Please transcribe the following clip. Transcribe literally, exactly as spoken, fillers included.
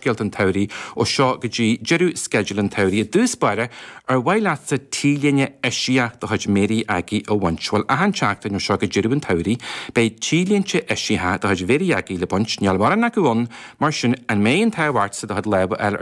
Barrscéalta an tSamhraidh ó seo go dtí deireadh sceideal an tsamhraidh. I dtús báire, ar mhaith leatsa T-léine eisiach de chuid Mary Aggie a bhaint? Bhuel, achan tseachtain ó seo go deireadh an tsamhraidh, beidh T-léinte eisiacha de chuid Mhary Aggie le baint. Níl mórán acu ann, mar sin an mbeidh an t-ádh ortsa do chuid lámh a fháil